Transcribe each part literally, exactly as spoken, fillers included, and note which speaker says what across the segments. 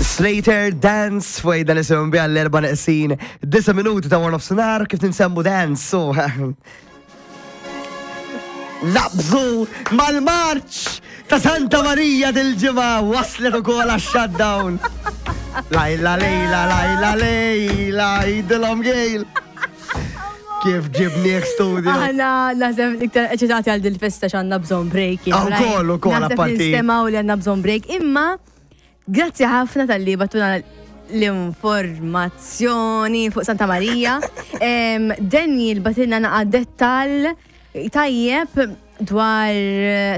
Speaker 1: Slater Dance fuq dan isim bi għall-erba neqsin disa minuti ta' one of sonar kif ninsemmu dance. So naqbżu mal-marċ ta' Santa Maria dil-ġimgħa waslet ukoll għax-shutdown. Lajla lejla lajla lejla idilhom gejl. Kif ġibnieh studio.
Speaker 2: Aħna naħseb iktar eċitati għal dil-festa x'għandna bżonn break.
Speaker 1: Ah, ukoll, ukoll,
Speaker 2: Naħseb
Speaker 1: apparti.
Speaker 2: nistemaw li għandna bżonn break. Imma grazzi ħafna talli bgħattuna l-informazzjoni fuq Santa Maria. Em, Daniel bagħtilna naqa dettal tajjeb dwar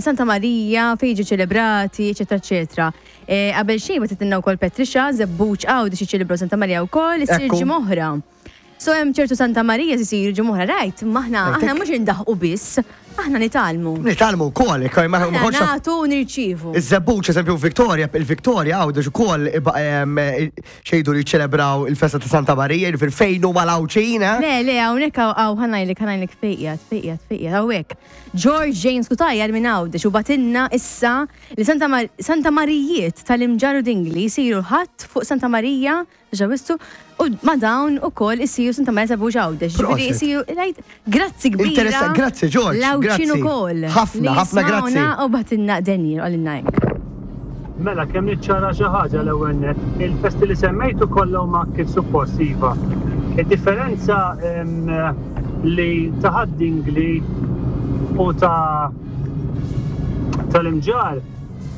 Speaker 2: Santa Maria, fejn jiġu ċelebrati, eccetera, eccetera. Eh, Qabel xejn bagħtitilna wkoll Patricia, Żebbuġ Għawdex jiċċelebraw Santa Maria wkoll, issir
Speaker 1: Ekku.
Speaker 2: ġimgħa oħra. So hemm ċertu Santa Maria isiru ġimgħa oħra, right? Ma aħna aħna mhux indaħqu biss, aħna nitgħallmu.
Speaker 1: Nitgħallmu wkoll, ma
Speaker 2: Aħna
Speaker 1: ma
Speaker 2: nagħtu u nirċievu.
Speaker 1: Iż-Żebbuġ, eżempju, Victoria, il-Victoria Għawdex ukoll xejdu li ċelebraw il-festa ta' Santa Maria, jiġifieri fejn huma l-Għawdxin, eh?
Speaker 2: Le, le, hawnhekk hawn ħa ngħidlek, ħa ngħidlek fejn qiegħed, fejn qiegħed, fejn qiegħed, hawnhekk. George James Cutajar minn Għawdex u bagħtilna issa li Santa, Mar Santa Marijiet tal-Imġarr u Dingli jisiru ħadd fuq Santa Marija, ġawistu, u ma dawn ukoll isiru Santa Marija Żebbuġ Għawdex. Ġifieri
Speaker 1: Prosit.
Speaker 2: isiru, right, grazzi kbira.
Speaker 1: Interessa- grazzi, George,
Speaker 2: L-Għawdxin
Speaker 1: grazzi.
Speaker 2: ukoll.
Speaker 1: Ħafna,
Speaker 2: Li
Speaker 1: ħafna grazzi.
Speaker 2: jismawna U bagħtilna Daniel, qalilna hekk.
Speaker 3: Mela, kemm niċċara xi ħaġa l-ewwel nett. Il-festi li semmejtu kollha huma kif suppost iva. Id-differenza em, li ta' Ħad-Dingli u ta' tal-Imġarr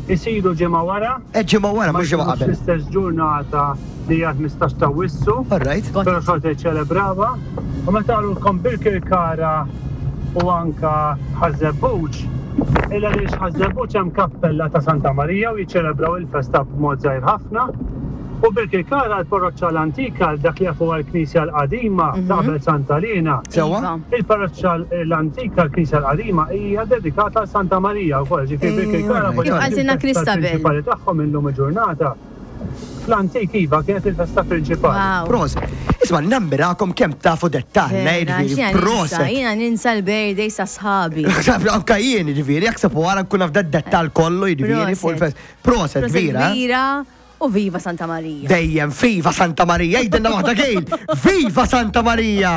Speaker 3: isiru ġimgħa wara.
Speaker 1: Eh, ġimgħa wara, mhux ġimgħa
Speaker 3: ma
Speaker 1: qabel.
Speaker 3: L-istess ġurnata li hija ħmistax ta' Awwissu.
Speaker 1: All right.
Speaker 3: Però xorta jiċċelebrawha. U meta qalulkom Birkirkara u anka Ħaż-Żebbuġ, illa li Ħaż-Żebbuġ hemm kappella ta' Santa Marija u jiċċelebraw il-festa b'mod żgħir ħafna. U Birkirkara l-parroċċa l-antika, dak li jafu għal-Knisja l-qadima ta' qabel Santa Lina.
Speaker 1: Sewwa?
Speaker 2: Iva.
Speaker 3: Il-parroċċa l-antika, l-Knisja l-qadima, hija dedikata għal Santa Marija wkoll, ġifieri Birkirkara
Speaker 1: alright.
Speaker 3: voglio
Speaker 2: Kif qaltilna
Speaker 3: il-festa
Speaker 2: Christabel.
Speaker 3: prinċipali tagħhom illum il-ġurnata. Fl-antik iva kienet il-festa prinċipali.
Speaker 2: Wow.
Speaker 1: Prosit. Isma' nammirakom kemm tafu dettal,
Speaker 2: Vera,
Speaker 1: jiġifieri,
Speaker 2: x'jiena ninsa,
Speaker 1: prosit.
Speaker 2: Jiena ninsa l-birthday sa sħabi.
Speaker 1: Anka jien, jiġifieri, jakseb wara nkun naf dettal kollu, jiġifieri, fuq il-fest. Prosit,
Speaker 2: Prosit
Speaker 1: kbira. eh?
Speaker 2: kbira u viva Santa Maria.
Speaker 1: Dejjem, viva Santa Maria, jgħidilna waħda gejl. Viva Santa Maria!